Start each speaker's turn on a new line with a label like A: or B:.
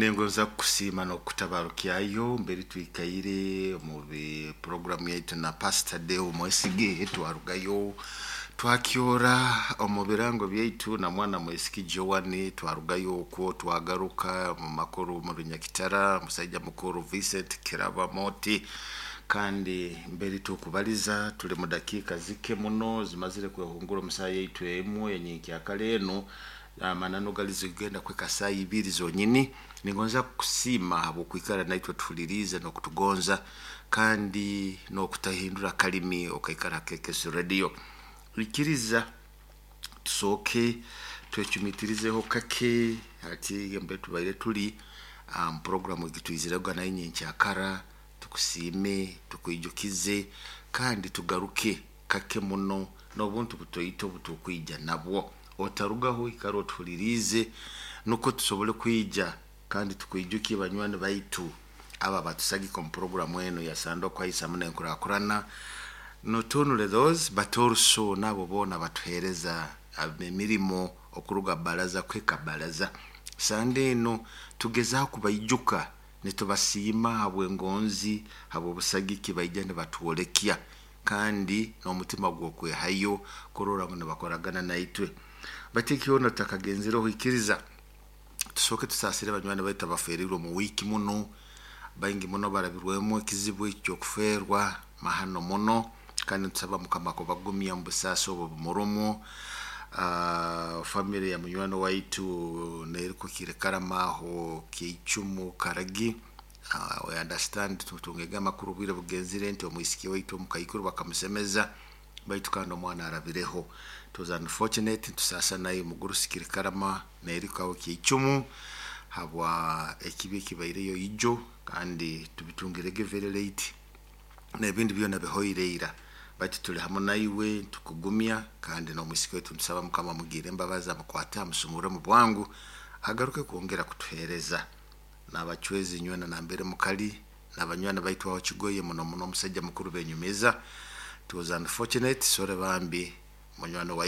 A: Nengonza kukusiima n'okukutabarukyayo mbere twikaire omu programu yaitu na Pastor Deo Mwesige. Twarugayo twakyora omu birango byaitu na mwana Mwisiki Joan. Twarugayo okwo twagaruka mu makuru mu Runyakitara, musaija mukuru Vincent Kiraba Moti. Kandi mbere tukubaliza tuli mu dakiika zike muno zimazire kwehungura omusaha yaitu emu enyenkyakara enu. Amananu gali zigenda kweka saa 2 zonyini. Ningonza kukusiima habwokwikara naitwe tuhuliriize n'okutugonza kandi n'okutahindura kalimi okaikara Kekesi Radio. Ikiriza tusooke twecumitirizeho kake hati mbe tubaire tuli programu egitwizirega nayo nyenkyakara. Tukusiime, tukwijukize kandi tugaruke kake muno n'obuntu butoito obutukwija nabwo. Otarugaho, ikara otuhuliriize nukwo tusobole kwija kandi tukwijukie banywani baitu aba batusagika omu programu eno ya Sandokwa Isamu n'Enkurakurana. Not only those but also nabo boona batuheereza emirimo okuruga baraza kweka baraza. Sande eno tugezaho kubaijuka nitubasiima habw'engonzi, habw'obusagiki baija nibatwolekya kandi n'omutima gw'okwehayo kurora ngu nibakoragana naitwe. Bati kyona tutakagenzireho, ikiriza tusooke tusaasire banywani baitu abaferirwe omu wiiki muno. Baingi muno barabirwemu ekizibu eky'okufeerwa mahano muno, kandi nitusaba Mukama kubagumya mu busaasi obwo bumurumu. Family ya munywani waitu nerikukire Karama aho Kiicumu Karagi, we understand, tutungege amakuru obwire bugenzire nti omwisiki waitu omukaikuru bakamusemeza, baitu kandi omwana arabireho. It was unfortunate. Tusaasa naye mugurusi Karama nerikaho Kiicumu habwa ekibi ekibaireyo ijo, kandi tubitungirege very late n'ebindi byona bihoire ira, baitu tuli hamu naiwe tukugumya. Kandi n'omwisiki waitu nitusaba Mukama amugirre embabazi, amukwate, amusumure mu bwangu, agaruke kwongera kutuheereza. N'abacwezi nywena nambere mukali n'abanywani baitu aho Kigoye, muno muno omusajja mukuru benyumiza. It was unfortunate, sorry bambi munywani waitu.